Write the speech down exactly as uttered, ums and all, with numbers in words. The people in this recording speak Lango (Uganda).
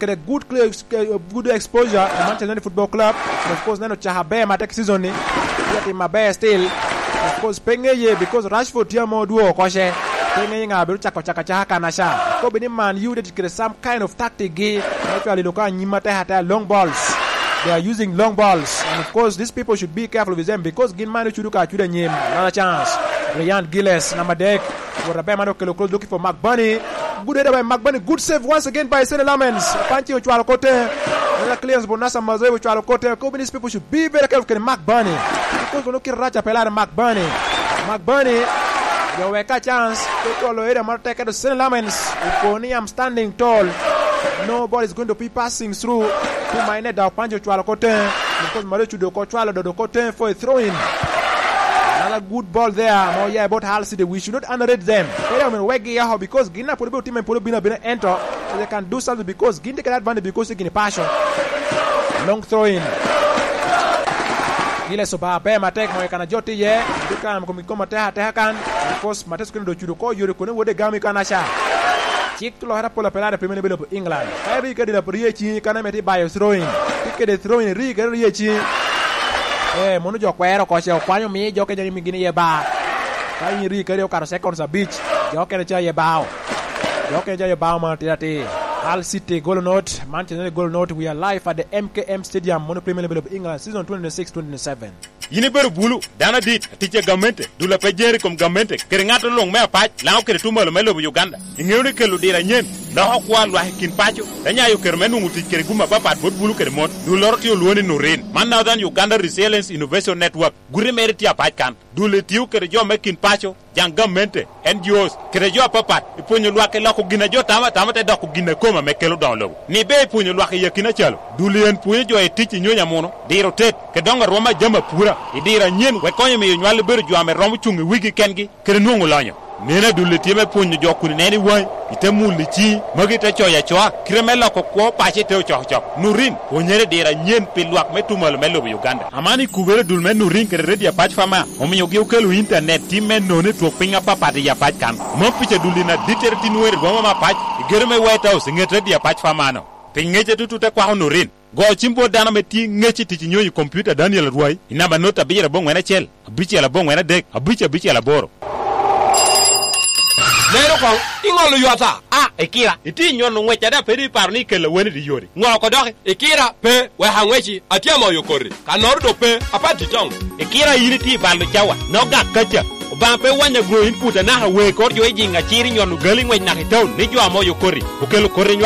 kede good clear, good exposure to Manchester United Football Club. And of course, neno caka aber matek season ni. Tye atim aber still. Of course, pe ŋeye because Rashford tye ame odwogo oko ce. Pe ŋeye ŋa bino cako caka caka kan aca. Kobe ni Man U did kede some kind of tactic gi. Actually, loka anyim atek atek long balls. They are using long balls. And of course, these people should be careful with them because gin man ocudo ka acuda anyim. Another chance. Ryan Gillies, number dek. Wot aber man okelo cross looking for Mark Burney. Good header by Mark Burney. Good save once again by Saint Lamens. Panchi ocwalo kote. Another clearance for Nasser Mazraoui ocwalo kote. Kobe, these people should be very careful kede Mark Burney. Because kono kite rac a pelare Mark Burney. Mark Burney. Yo weka chance. Pe cwalo area moro tek edo Saint Lamens. Oko ni I'm standing tall. Nobody is going to be passing through. To my net, Panchi ocwalo kote. Because Mario Chudo ko cwalo dodo kote for a throw in. Another good ball there. Mo, yeah, about Hull City. We should not underrate them. Kaya, I mean, wegi yaho because gin na pwod obino time, pwod obino abina ento. So they can do something because gin they get advantage because they can pass. Long throw in. Gillies oba aber matek mo kana jot iye. Duka mo komi koma teha teha kan. Of course, Mates kene do chudo ko yore kone wode gami kan aca. Cik lokere apola pelare Premier League of England. Ka ri kede lap rie ci kana meti bayo throw in. Kede throw in ri kede rie ci. Eh, mono jo kwero ko ce okwanyo mi jo kenya mi gini ye ba. Ka in ri kede okato seconds abic. Jo kene ca ye bao. Jo kene ca ye bao ma tira ti. Hull City goal not, Manchester United goal not. We are live at the M K M Stadium, mono Premier League of England, season twenty twenty-six twenty twenty-seven. Yin ibedo bulu, dano adit, atic a gamente, dul a pe jeri kom gamente, kede ŋat luŋ me apac, Laŋo kede Tumalo me lobo Uganda. Iŋeo ni kelo diro anyen, loko kwo a lwak i kin paco, te nyayo kero me nwoŋo tic kede gum apapat bot bulu kede mon. Dulloro tye olwoŋo ni Nurin. Man Northern Uganda Resilience Innovation Network, guti mere tye apac kan. Dul etio kede jo me kin paco, jaŋ gamente, N G Os, kede jo apapat, i pwonyo lwak i loko gin a jo tamo atama te doko gin a kome ame kelo doŋo lobo. Ni ber i pwonyo lwak i akina calo, dul en pwonyo jo i tic i nyony amuno, diro tet, kede doŋo arwom a jami apura, i diro anyen, wek konyo miyo nywal bedo jo ame romo cuŋ i wigi kengi, kede nwoŋo lonyo. Neno adul tye me pwonyo jo kun ineno i waŋi, ite mulo i ciŋi, magi te coyo acoa, kite me loko kwo paco ite ocokocok. Nurin, pwonyere diro anyen pi lwak me Tumalo me lobo Uganda. Aman i kubere dul me Nurin kede Radio Apac Fama, omiogi okelo intanet tim me nono i twok piny apapat i Apac kan. Mom pica dul in adittere tin wer i boma me Apac, i gedo me White House, i ŋet Radio Apac Fama-no. Pi ŋec atutu te kwako Nurin. Go cim bot dano ame tye ŋec i tic i nyonyo i kompiuta Daniel Arwai i namba not abiro aboŋwen acel, abicel aboŋwen adek, abic abicel aboro. Lero koŋ, iŋolo ywata. A, Ikira, itye i nyono ŋwec ada pe doŋ iparo ni ikella weni i yori? Ŋo oko doki? Ikira, pe, wek aŋweci, atye amoyo koti. Kannoro dok pe, apati toŋ. Ikira, yin itye i balo cawa, nok gak kaca. Obaŋa pe wanya gro in put anaka wee kor jo i jiŋ acir i nyono gali ŋwec naka i taun ni jo amoyo koti, okelo koti i nywal.